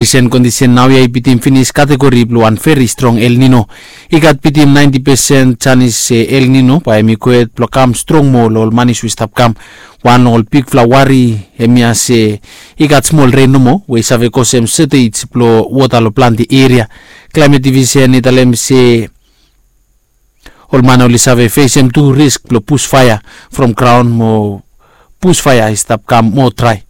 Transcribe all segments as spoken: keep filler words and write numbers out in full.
Risen kondisen naoia i bitim finis kategori blong wan veri strong El Nino. I gat bitim naenti pesen janis se El Nino bae hem i gohed blong kam strong moa long ol manis we i stap kam. Wan long ol bigfala wari hemia se i gat smol ren nomo we i save kosem sotej blong wota long plante eria. Klaemet divisen i talem se ol man oli save fesem tu risk blong busfaea from graon mo busfaea i stap kam moa drae.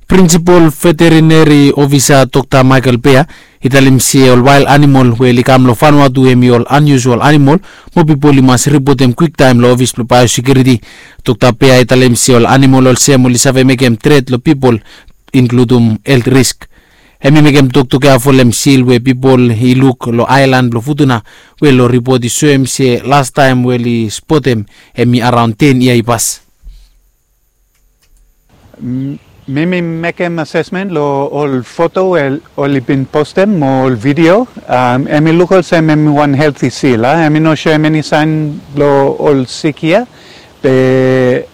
Prinsipol veterineri ofisa Dokta Michael Bea i talem se ol wael animol we oli kam long Vanuatu hem i ol aniusual animol mo pipol i mas ripotem kwiktaem long ofis blong baeosekiuriti. Dokta Bea i talem se ol animol olsem oli save mekem tret long pipol inkludum helt risk. Hem i mekem toktok ya folem sil we pipol i luk long aelan blong Futuna we long ripot i soem se lastaem we oli spotem hem i araon ten yia i pas. Mi mi mekem asesmen long ol foto we oli bin postem mo ol vidio. Hem i luk olsem hem i wan helti sil a, hem i no soem eni saen blong ol sik hia. Be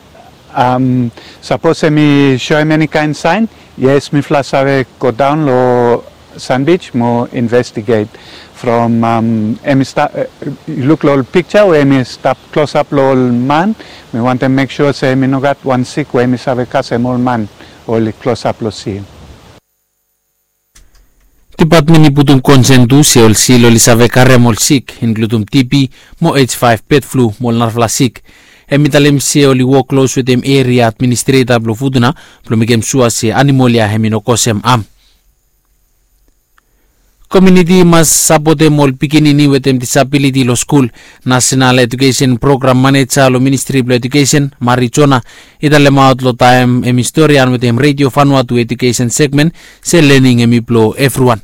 sapos hem i soem eni kaen saen, yes, mifala save godaon long Sandbij mo investiget. From hem i stap, yu luk long ol pikja we hem i stap klosap long ol man. Mi wantem mek sua se hem i no gat wan sik we hem i save kasem ol man oli klosap long sil. Depatmen i putum konsen tu se ol sil oli save karem ol sik inkludum TB mo H five, bed flu mo ol narafala sik. Hem i talem se oli wok klos wetem eria administreta blong Futuna blong mekem sua se animol ya hem i no kosem am. Komiuniti i mas sapotem ol pikinini wetem disabiliti long skul. Nasenal Ejukesen Program Maneja long Ministri blong Ejukesen, Mari Jona, i talemaot long taem hem i storian wetem Redio Vanuatu Ejukesen Segmen se lening hem i blong evriwan.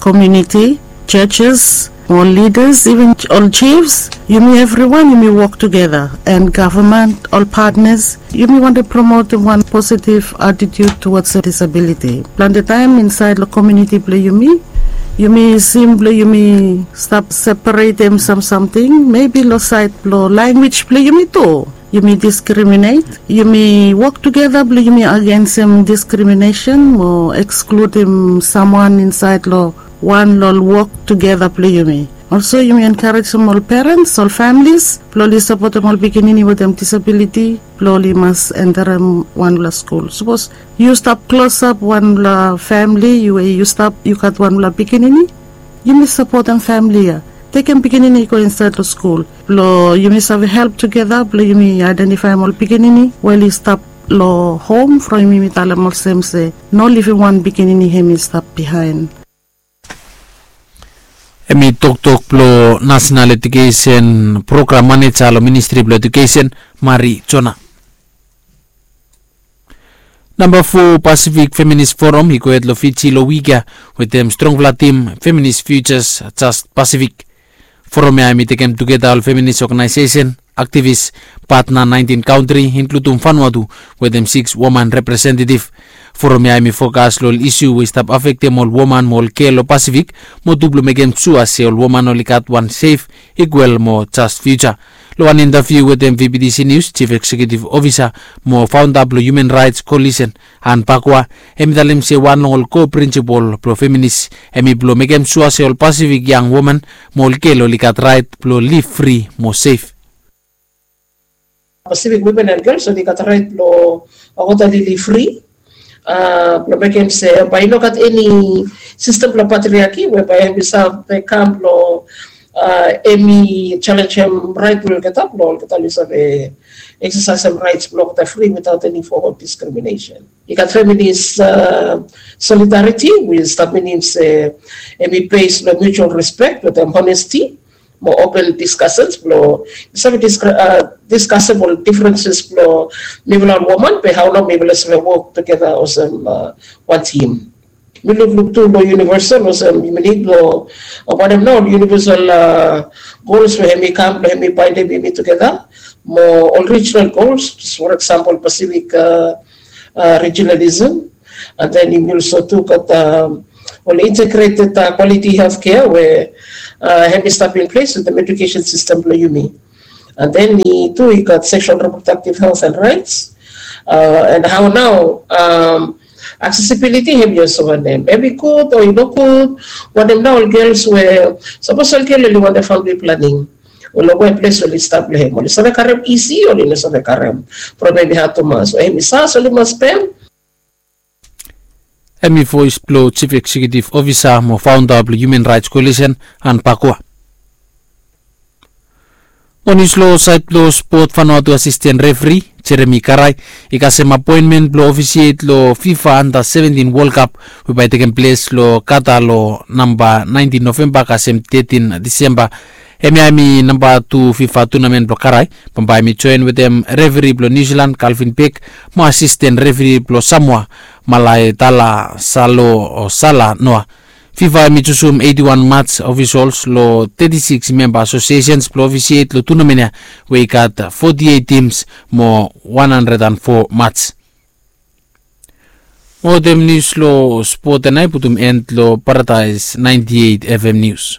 Komiuniti, judges, ol lidas, iven ol jifs, yumi evriwan yumi wok tugeta, an gavman, ol patnas, yumi wantem promotem wan positiv atitiut tuwats disabiliti. Plante taem insaed long komiuniti blong yumi, yumi sim blong yumi stap separetem sam samting, mebi long saed blong lanwis blong yumi tu. Yumi diskriminet, yumi wok tugeta blong yumi agensem diskriminesen mo ekskludim samwan insaed long wan long ol wok tugeta blong yumi. Olso yumi enkarejem ol perens, ol famlis blong oli sapotem ol pikinini wetem disabiliti blong oli mas enterem wanpela skul. Sapos yu stap klosap wanpela famli we yu stap yu gat wanpela pikinini, yumi sapotem famli ya. Tekem pikinini i go insaed long skul blong yumi save help tugeta blong yumi aedentifaem ol pikinini we oli stap long hom from yumi talem olsem se no livim wan pikinini hem i stap bihaen. Hem i toktok blong Nasenal Ejukesen Program Maneja long Ministri blong Ejukesen, Mari Jona. Namba fo Pasifik Feminis Forum i gohed long Fiji long wik ya wetem strongfala tim Feminis Futures Just Pasifik. Forum ya hem i tekem tugeta ol feminis oganaesesen, aktivis, patna naentin kantri, inkludum Vanuatu wetem siks woman representetif. Forum ya hem i fokas long ol isu we i stap afektem ol woman mo ol gel long Pasifik mo tu blong mekem sua se ol woman oli gat wan sef, ikwal mo jas fiuja. Long wan intaviu wetem VBTC Nius, Jif Eksekiutif Ofisa mo faonda blong Human Raets Kolisen, Ann Bakwa, hem i talem se wan long ol ko prinsipol blong feminis hem i blong mekem sua se ol Pasifik yang woman mo ol gel oli gat raet blong liv fri mo sef. Pasifik wimen an gels oli gat raet blong wokbaot oli liv fri, blong mekem se bae i no gat eni sistem blong patriaki we bae hem i save kam blong hem i jalenjem raet blong olgeta blong olgeta oli save eksasaesem raets blong olgeta fri witaot eni fom of diskriminesen. I gat feminis solidariti we i stap minim se hem i bes long mutual respek wetem honesti mo open diskasens blong i save diskasem ol difrenses blong mifala ol woman be hao nao mifala save wok tugeta olsem wan tim. Mi lukluk tu long universal olsem yumi nid long wanem nao ol universal gols we hem i kam blong hem i baindem yumi tugeta mo ol regional gols, for example Pacific regionalism, and then yumi also tu gat ol integrated quality healthcare we hem i stap in place wetem education system blong yumi. And then i tu i gat sexual reproductive health and rights. And how now, accessibility hem i olsem wanem, hem i gud o i no gud? Wanem nao ol gels we sapos ol gel oli wantem famili planing, ol i go we ples we oli stap long hem, oli save karem isi o oli no save karem? Problem i hat tumas we hem i sas oli mas pem. Hem i voes blong jif eksekiutif ofisa mo faonda blong human raets koalisen, an pakua. Mo nius long saed blong spot, fanua tu asisten refri jeremi karai i kasem apoenmen blong ofisiet long fifa anda seventin wol kap we bae i tekem ples long kata long namba naentin novemba kasem tetin disemba. Hemia hem i namba tu fifa tunamen blong karai. Bambae hem i joen wetem refri blong niusilan kalvin bek mo asisten refri blong samoa malaetala salo o sala noa. Fifa hem i jusum eiti wan mats ofisols long teti siks memba asosiesens blong ofisiet long tunamen ya we i gat foti eit tims mo wan handred an fo mats. Mo wetem nius long spot ya nao i putum en long paradaes naenti eit fm nius.